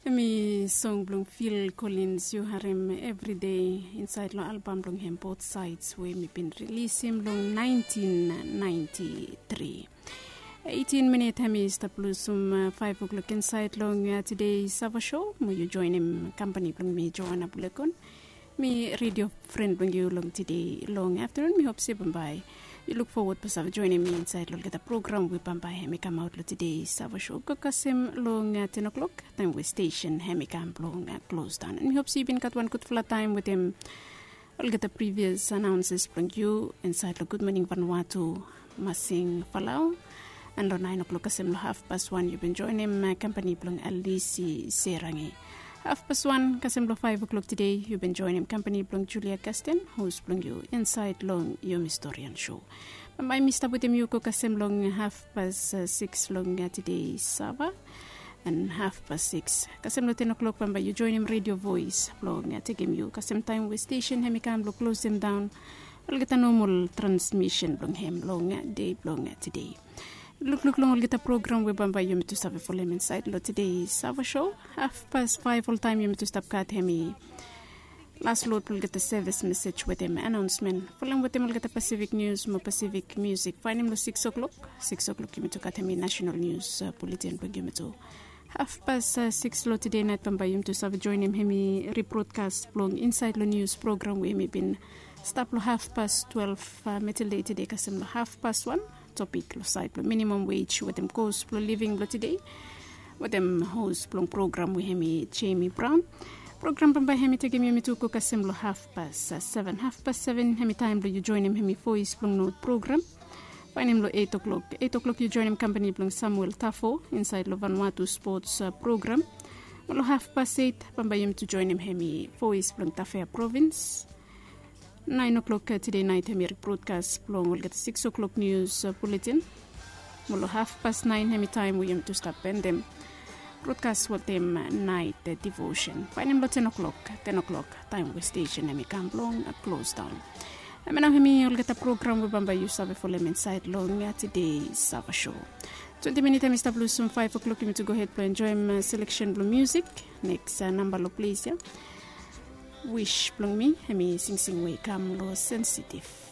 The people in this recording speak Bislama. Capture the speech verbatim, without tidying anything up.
Em i song blong Phil Collins yu harem evri dei insaed long albam blong hem Both Sides we mi bin rilisim long naentin naenti tri. Eitin minit hem i stap lusim faef oklok insaed long tede Sava Show mo yu joenem kampani blong mi Joana Bulekon. Mi redio fren blong yu long tede long aftanun. Mi hop se bambae yu luk fowod blong save joenem mi insaed long olgeta program we bambae hem i kamaot long tede Sava Show go kasem long ten oklok, taem we stesen hem i kam blong klosdaon. Mi hop se yu bin gat wan gudfala taem wetem olgeta privias anaonses blong yu insaed long Gud Moning Vanuatu, Masing Falau. An long naen oklok kasem long hafpas wan yu bin joenem kampani blong Alisi Serangi. Hafpas wan kasem long faef oklok tede yu bin joenem kampani blong Julia Kasten, hos blong yu insaed long Yumi Storian Show. Bambae mi stap wetem yu go kasem long hafpas sikis long tede Sava. An hafpas sikis kasem long ten oklok bambae yu joenem redio voes blong tekem yu kasem taem we stesen hem i kam blong klosem daon olgeta nomol transmisen blong hem long dei blong tede. Lukluk long olgeta program we bambae yumi tu save folem insaed long tede Sava Show. Hafpas faef oltaem yumi tu stap gat hem i las lod blong olgeta sevis mesej wetem anaonsmen folem wetem olgeta Pasifik nius mo Pasifik miusik. Faenem long sikis oklok, sikis oklok yumi tu gat hem i nasenal nius buletin blong yumi tu. Hafpas sikis long tede naet bambae yumi tu save joenem hem i ribrodkas blong insaed long nius program we hem i bin stap long hafpas twelef metel dei tede kasem long hafpas wan. Topik long saed blong minimam wej wetem kos blong living blong tede wetem hos blong program we hem i Jemi Braon. Program bambae hem i tekem yumi tu go kasem long hafpas seven. Hafpas seven hem i taem blong yu joenem hem i Voes blong Not program. Faenem long eit oklok, eit oklok yu joenem kampani blong Samuel Tafo insaed long Vanuatu spots program. Mo long hafpas eit bambae yumi tu joenem hem i Voes blong Tafea provins. Naen oklok tede naet hem i ribrodkas blong olgeta sikis oklok nius buletin. Mo long hafpas naen hem i taem we yumi tu stap endem brodkas wetem naet divosen. Faenem long ten oklok, ten oklok taem we stesen hem i kam blong klosdaon. Em ya nao hem i olgeta program we bambae yu save folem insaed long tede Sava Show. Twenti minit hem i stap lusim faef oklok yumi tu gohed blong enjoem seleksen blong miusik. Neks namba long ples ya, Wish blong mi, hem i singsing we i kam long Sensitif.